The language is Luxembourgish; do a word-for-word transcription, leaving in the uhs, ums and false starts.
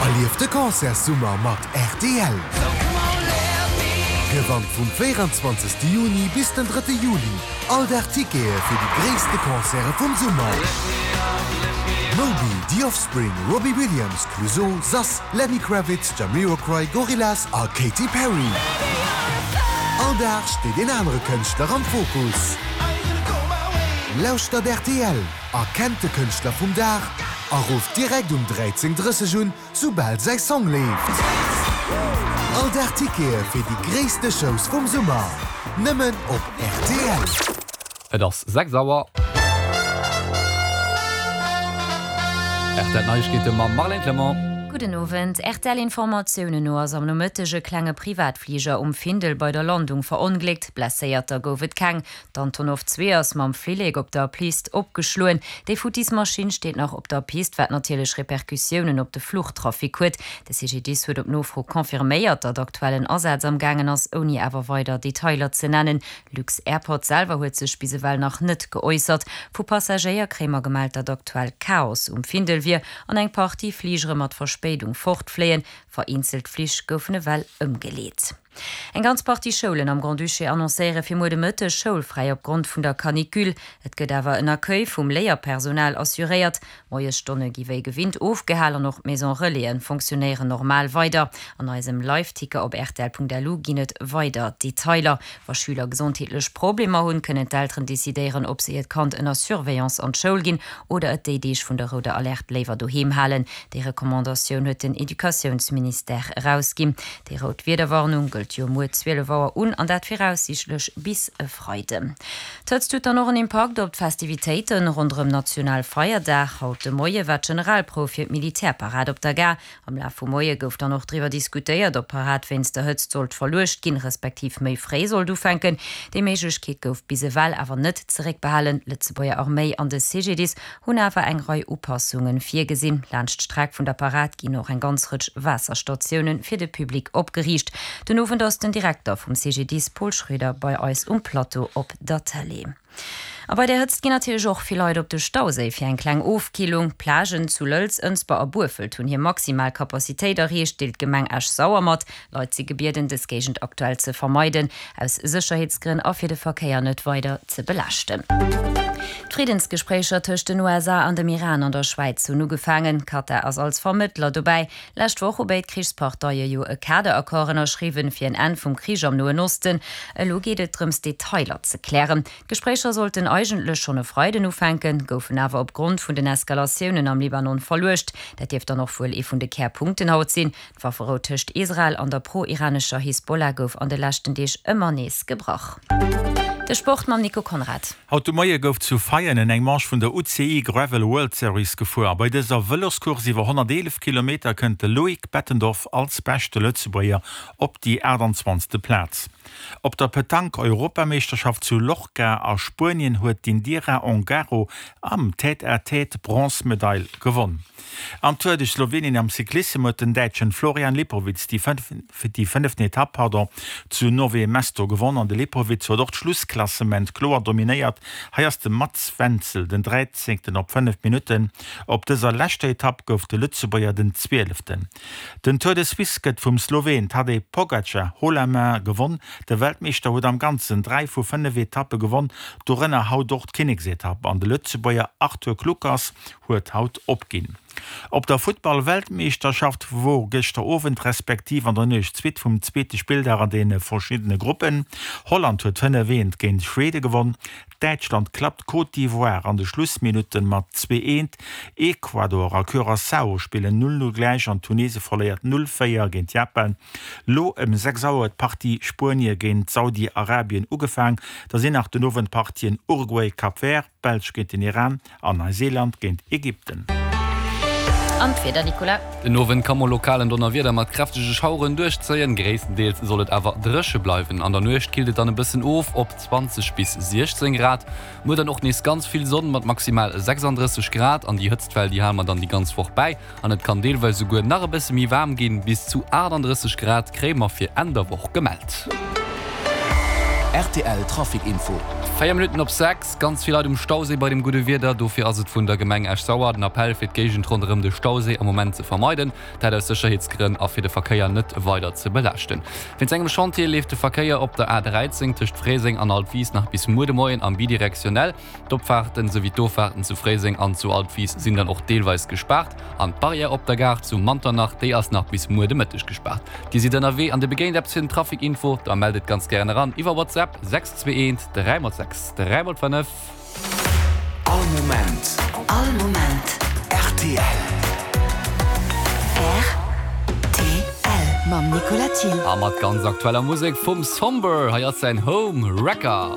Erlief de Concertssummer mat rtl! Gewannt vum véieranzwanzegste Juni bis den drëtte Juli all Dag Tickete fir déi gréisste Concerte vum Summer! Moby, The Offspring, Robbie Williams, Clouseau, Sass, Lenny Kravitz, Jamiroquai, Gorillaz a Katy Perry. All Dag steet een anere Kënschtler am Fokus. Lauschtert rtl, erkennt de Kënschtler vum Dag a rufft direkt um dräizéng drësseg un, soubal säi Song leeft. All Dag Tickete fir déi gréisste Shows vum Summer, nëmmen op rtl. Et ass sechs Auer. Rtl Neiegkeete mam Marlène Clement. Gudden Owend. R T L-Informatiounen no ass am Nomëtteg e klenge Privatfliger um Findel bei der Landung verongléckt. Blesséierter gouf et keng. D'Antonov zwee ass mam Flillek op der Pist opgeschloen. Déi futtis Maschinn steet nach op der Pist, wat natierlech Repercussiounen op de Fluchtrafic huet. De C G D I S huet op Nofro confirméiert, datt aktuell en Asaz am gaangen ass, ouni awer weider Detailer ze nennen. Lux-Airport selwer huet sech bis ewell nach net geäussert. Vu Passagéier kréie mer gemellt, datt aktuell Chaos um Findel wier an eng Partie Fligere mat Verspéidung fortfléien. Vereenzelt Flich goufen ewell ëmgeleet. Eng ganz Partie Schoulen am Grand-Duché annoncéiere fir muer de Mëtteg schoulfräi opgrond vun der Canicule. Et gëtt awer en Accueil vum Léierpersonal assuréiert. Moiesstonne gi wéi gewinnt ofgehalen an och d'Maison Relaisen fonctionnéieren normal weider. An eisem Live-Ticker op rtl Punkt L U ginn et weider Detailer. Wa Schüler gesondheetlech Problemer hunn, kënnen d'Elteren decidéieren, ob se hiert Kand ënner Surveillance an d'Schoul ginn oder et déi Deeg vun der rouder Alerte léiwer doheem halen. Déi Recommandatioun huet den Educatiounsministère erausginn. Déi rout Wiederwarnung gëllt jo muer zwielef Auer un an dat viraussiichtlech bis e Freiden. D'Hëtzt huet dann och en Impakt op d'Festivitéiten ronderëm Nationalfeierdag. Haut de Moie war d'Generalprouf fir d'Militärparad op der Gare. Am Laf vum Moie gouf dann och driwwer diskutéiert, ob d'Parad wéinst der Hëtzt sollt verluecht ginn, respektiv méi fréi sollt ufänken. Déi Méiglechkeet gouf bis ewell awer net zeréckbehalen. D'Lëtzebuerger Arméi an de C G D I S hunn awer eng Rei Upassunge virgesinn. Laanscht d'Streck vun der Parad ginn och eng ganz Rëtsch Waasserstatioune fir de Public opgeriicht. Den Owend ass den Direkter vum C G D I S Paul Schroeder bei eis um Plateau op der Tëlee. A bei der Hëtzt ginn natierlech och vill Leit op de Stauséi fir eng kleng Ofkillung. D'Plagen zu Lëlz, Ënsber a Burfelt hunn hir maximal Kapazitéit erreecht, deelt d'Gemeng Esch-Sauer mat. Leit si gebieden, dës Géigend aktuell ze vermeiden, aus Sécherheetsgrënn a fir de Verkéier net weider ze belaaschten. D'Friddensgespréicher tëscht den U S A an dem Iran an der Schwäiz hunn ugefaangen. Katar ass als Vermëttler dobäi. Lescht Woch hu béid Krichsparteie jo e Kaderaccord ënnerschriwwen fir en Enn vum Krich am Noen Osten. Elo geet et drëms, Detailer ze klären. D'Gespréicher sollten eigentlech schonn e Freiden ufänken, goufen awer opgrond vun den Eskalatiounen am Libanon verluecht. Dat dierft dann och wuel ee vun de Kärpunkten haut sinn. D'Wafferou tëscht Israel an der pro-iranescher Hisbollah gouf an de leschten Deeg ëmmer nees gebrach. De Sport mam Nico Conrad. Haut de Moie gouf zu Veianen eng Manche vun der U C I Gravel World Series gefuer. Bei dëser Vëloscourse iwwer honnerteelef Kilometer kënnt de Loïc Bettendorf als beschte Lëtzebuerger op déi aachtanzwanzegste. Plaz. Op der Petanque-Europameeschterschaft zu Lorca a Spuenien huet d'Indira Ongaro am Tête-à-Tête d'Bronzmedail gewonn. Am Tour de Slowenien am Cyclissem huet den Däitschen Florian Lipowitz déi déi fënneften Etapp pardon, zu Nové Mesto gewonn an de Lipowitz huet och d'Schlussklassement kloer dominéiert. Hei ass de Mats Wenzel den dräizéngten op fënnef Minutten. Op dëser leschter Etapp gouf de Lëtzebuerger den Zwieleften. Den Tour de Suisse gëtt vum Sloween Tadej Pogacar haut la main gewonn. De Weltmeeschter huet am Ganzen dräi vu fënnef Etappe gewonn, dorënner haut och d'Kinneksetapp an de Lëtzebuerger Arthur Kluckers huet haut opginn. Op der Futtball-Weltmeeschterschaft wor gëschter Owend respektiv an der Nuecht d'Suite vum zweete Spilldag an deene verschiddene Gruppen. Holland huet fënnef eent géint Schwede gewonn, Däitschland klappt Côte d'Ivoire an de Schlussminutte mat zwee eent, Ecuador a Curaçao spillen null null gläich an Tunesien verléiert null véier géint Japan. Lo ëm sechs Auer huet d'Partie Spuenie géint Saudi-Arabien ugefaang. Da sinn nach den Owend d'Partien Uruguay-Cap Vert, Belsch géint den Iran an Neuseeland géint Ägypten. An d'Wieder, Nicolas. Den Owend ka mol lokal en Donnerwieder mat kräftege Schaueren duerchzéien. Gréisstendeels soll et awer dréche bleiwen. An der Nuecht killt et dann e bëssen of op zwanzeg bis siechzéng Grad. Muer dann och nees ganz vill Sonn mat maximal sechsanddrësseg Grad. An déi Hëtztwell, déi hale mer dann déi ganz Woch bäi. An et kann deelweis souguer nach e bësse méi waarm ginn, bis zu aachtanddrësseg Grad kréie mer fir Enn der Woch gemellt. Rtl Trafic Info. Véier Minutten op sechs, Ganz vill Leit um Stauséi bei dem gudde Wieder. Dofir ass et vun der Gemeng Esch-Sauer den Appell fir d'Géigend ronderëm de Stauséi am Moment ze vermeiden. Dat aus Sécherheetsgrënn a fir de Verkéier net weider ze belaaschten. Wéinst engem Chantier leeft de Verkéier op der A dräizéng tëscht Fréiseng an Altwis nach bis muer de Moien am bidirektionell. D'Opfaarten souwéi d'Offaarten zu Fréiseng an zu Altwis sinn dann och deelweis gespaart. An d'Barrière op der Gare zu Manternach, déi ass nach bis muer de Mëtteg gespaart. Dir sidd ënnerwee an Dir begéint eppes fir den Trafic Info? Da mellt et ganz gären eran iwwer WhatsApp, sechs zwee eent dräi mol sechs dräi mol fënnef. All Moment. All Moment. Rtl. Rtl mam Nicolas Thiel. A mat ganz aktueller Musek vum Somber. Hei ass säin Home Wrecker.